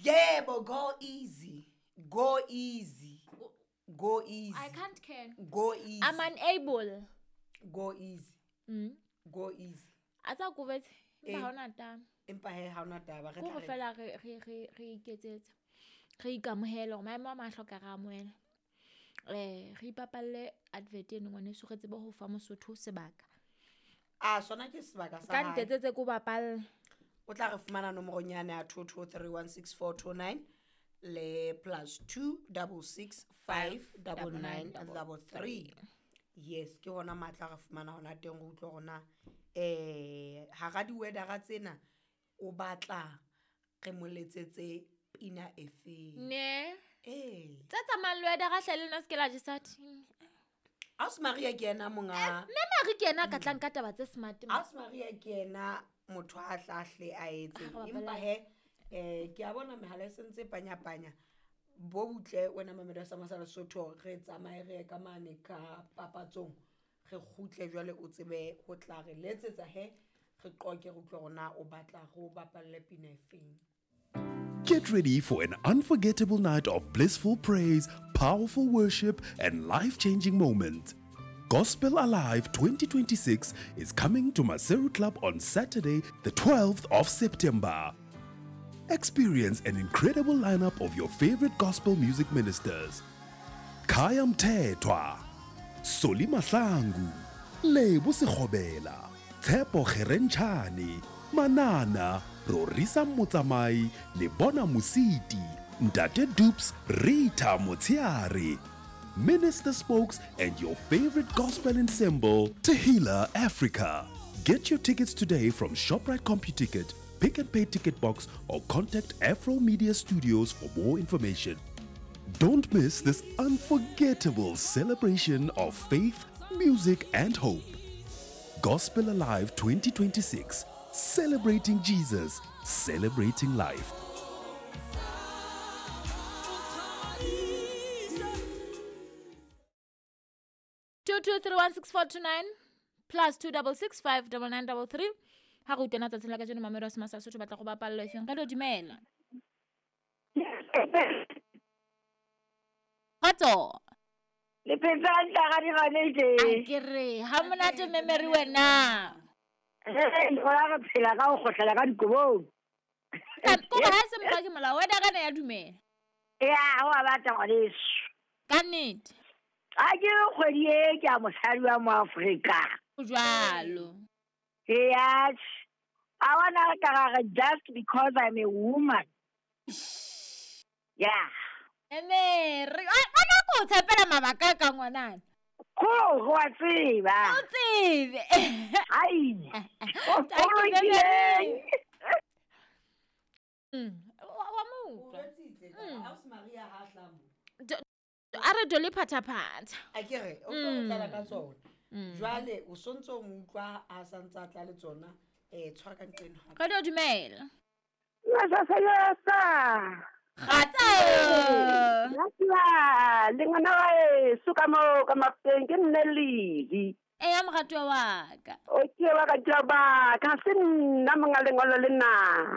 Yebo, go easy. Go easy. Go easy. I can't care. Go easy. I'm unable. Go easy. Go easy. A tsa kobetse Eh. empa ha hona taba. Empa he ha hona taba re Ko tla re re fela re iketsetse. Re ikamohele hore maemo a mang a hloka re amohele. Re ipapalle advert eno ngwaneso re tsebe ho fa Mosotho sebaka. A sona ke sebaka sa Ka hae. ntetsetse ko bapalle. O tla re fumana nomorong yane ya 22316429 le +2 66 5 99 33. Yes, ke hona matla re fumana hona teng re utlwe hore na hara di-weathera tsena o batla re mo letsetse pina e feng. Ne. Ee. Tse tsamayang le weathera hle le nna se ke la jesa ting. Ausi Maria ke yena monga. Mme Marie ke yena a ka tlang ka taba tse smart. Ausi Maria ke yena motho a tla hle a etse. Ha re Empa bapala. he ke a bona mehala e sentse e panya-panya. Bo butle wena Mamelodi ya Sama sa Lesotho re tsamaye re ye ka mane ka papatsong. Re kgutle jwale o tsebe ho tla re letsetsa he re qoke re utlwe hore na o batla re o bapalle pina e feng. Get ready for an unforgettable night of blissful praise, powerful worship, and life-changing moments. Gospel Alive 2026 is coming to Maseru Club on Saturday, the 12th of September. Experience an incredible lineup of your favorite gospel music ministers. Khaya Mthethwa, Solly Mahlangu, Lebo Sekgobela, Tshepo Kgerentshane, Manana, Rorisang Motsamai, Lebona Mositi, Ntate Dupes, Rita Motsiare, Minister Spokes, and your favorite gospel ensemble, Tehila Africa. Get your tickets today from ShopRite CompuTicket, Pick and Pay Ticket Box, or contact Afro Media Studios for more information. Don't miss this unforgettable celebration of faith, music, and hope. Gospel Alive 2026, celebrating Jesus, celebrating life. 22316429 +2 66 5 99 33. Ha re utlwana tsatsing la kajeno Mamelodi ya Sama sa Lesotho batla go bapallwa efeng? Re lo dumela. Kgotso. Le phetse hantle ha di gane tje. A ke re ha monate memory wena. Hey, gona re phela ka ho kgohlela ka dikobong. Ko ba se mokgwa ke molao wena kana ya dumela. Ya, wa batla ngwaneso. Ka nnete. A ke kgwedi e ke a mosadi wa mo Afrika. O jwalo. Yes. I wanna ka re just because I'm a woman. Yeah. Emery, a ko tshepela mabaka ka ngwanana. Ko go a tseba. O tsebe. Ai. O Thank you, lokile. Wa mo O utlwa. jwetsitse Ausi Maria ha tla mo. A re dole phathaphatha. A ke re o tlo tlala ka tsona. Jwale o sontso o mo utlwa a santse a tla le tsona tshwara ka nqeno hape. Re lo dumela. Yesa yesa. Kgatsa. Yasa, le ngwana wa heso ka moo ka Mafeteng ke nne Lili. Eya moratuwa wa ka. O ke wa ka jaba, ka se nna monga lengolo le na.